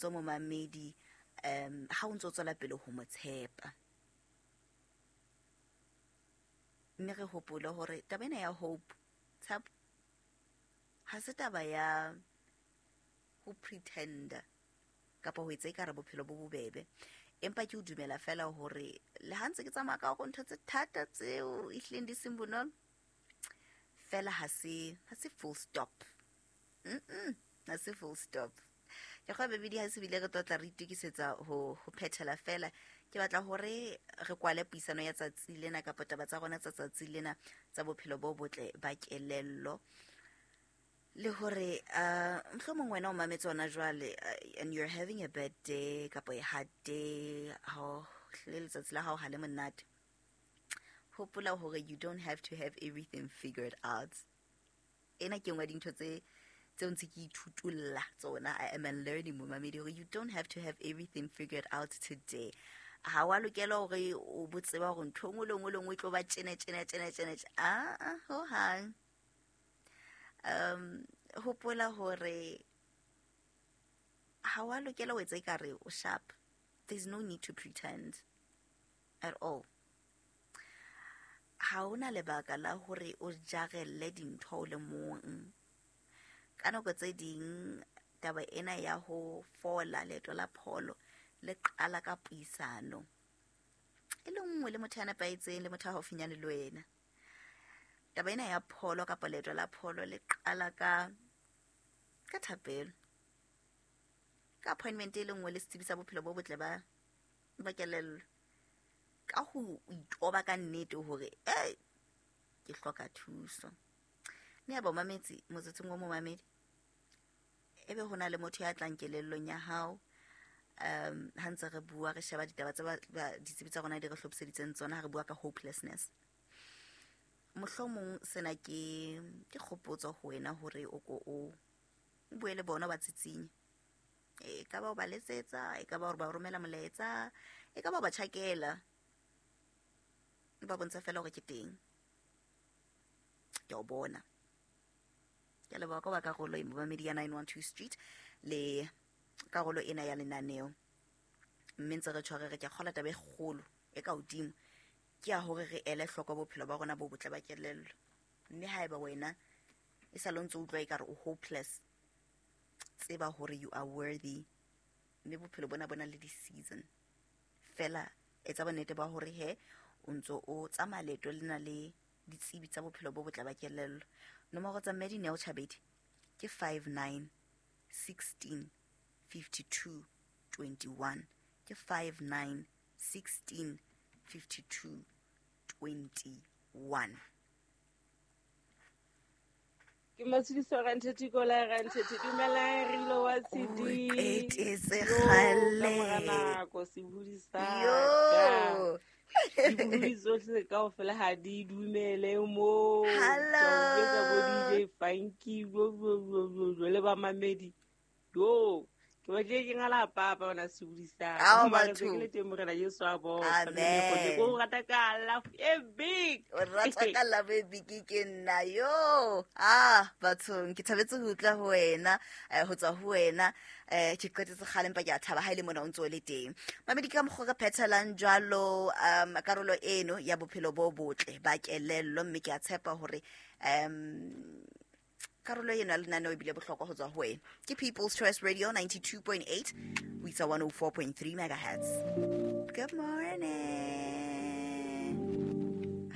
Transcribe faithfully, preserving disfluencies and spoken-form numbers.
kgotso momamedi um ha o ntso tswela pele ho mo tshepa. Mme re hopole hore taba ena ya hope, tshepo, ha se taba ya ho pretender kapa ho etsa ekare bophelo bo bobebe, empa ke o dumela fela hore le ha ntse ke tsamaya ka hore ntho tse thata tseo ehlileng di seng bonolo, fela ha se ha se full stop. Mm-mm, ha se full stop. Ke kgwa bebedi ha se bile re tlotla re itokisetsa ho ho phethela fela. Ke batla hore re kwale puisano ya tsatsi lena kapa taba tsa rona tsa tsatsi lena tsa bophelo bo botle ba kelello, le hore uh mohlomong wena o mametse hona jwale, uh, and you're having a bad day kapa a hard day, ha le letsatsi la hao ha le monate, hopola hore you don't have to have everything figured out. Ena ke nngwe ya dintho tse tseo ntse ke ithutulla tsona. I am a learning momamedi hore you don't have to have everything figured out today. Ha wa lokela hore o bo tseba hore ntho e nngwe le nngwe le nngwe e tlo ba tjena tjena tjena tjena tjena. Ah, ah, ho hang. Um hopola hore ha wa lokela ho etsa ekare o sharp. There's no need to pretend at all. Ha hona lebaka la hore o jarelle dintho o le mong. Ka nako tse ding taba ena ya ho fola, leeto la pholo le qala ka puisano e le nngwe le motho ya nepahetseng, le motho a haufinyane le wena. Taba ena ya pholo kapa leeto la pholo le qala ka ka thapelo, ka appointment e le nngwe le setsebi sa bophelo bo botle ba ba kelello, ka ho itoba ka nnete hore eh ke hloka thuso. Mme ya ba o mametse motsotsong o momamedi, ebe hona le motho ya tlang kelellong ya hao um ha ntse re bua, re sheba ditaba tse ba ditsebi tsa rona di re hlophiseditseng tsona ha re bua ka hopelessness. Mohlomong sena ke ke kgopotso ho wena hore o ko o bue le bona ba tsitsinye. E ka ba o ba letsetsa, e ka ba hore ba romela molaetsa, e ka ba o ba tjhakela, ba bontsha fela hore ke teng, ke o bona. Ke leboha ka ba karolo e momamedi ya nine one two Street le karolo ena ya lenaneo. Mme ntse re tshware re ke kgola taba e kgolo e ka hodimo ke ya hore re ele hloko bophelo ba rona bo botle ba kelello. Mme haeba wena e sa le ntse o utlwa ekare o hopeless, tseba hore you are worthy. Mme bophelo bona bona le di-season fela, etsa bonnete ba hore he o ntso o tsamaya leeto lena le ditsebi tsa bophelo bo botle ba kelello. Nomoro tsa mme Dineo Chabedi ke five nine sixteen fifty two twenty one, ke five nine sixteen fifty two twenty one. Ke Matshidiso Rantheti Kola Rantheti, dumelang re lo wa O C D. qetetse Yo, ka mora kgale. nako sebohodi sa ka. Yo. Dibohodi tsohle kaofela ha di dumele moo. Ke a o jwetsa bo Hello. D J Funky, bo bo bo bo bo le bamamedi. Yo, ke batlile ke ngala papa ona sebohodi sa ka. Ao Mara se ke batho. le teng Morena Jesu a bopa. Mme Lekgotle, ke Amen. o rata ka love e big. O rata ka love e big ke nna yo. Ah, bathong ke thabetse ho utlwa ho wena, eh, ho tswa ho wena. Eh, ke qetetse kgale empa ke a thaba ha ile mona o ntso o le teng. Mamedi ka mokgwa re phethelang jwalo um karolo eno ya bophelo bo botle ba kelello, mme ke a tshepa hore um karolo eno ya lenaneo ebile bohlokwa ho tswa ho wena. Ke People's Choice Radio ninety-two point eight ho isa one oh four point three megahertz. Good morning.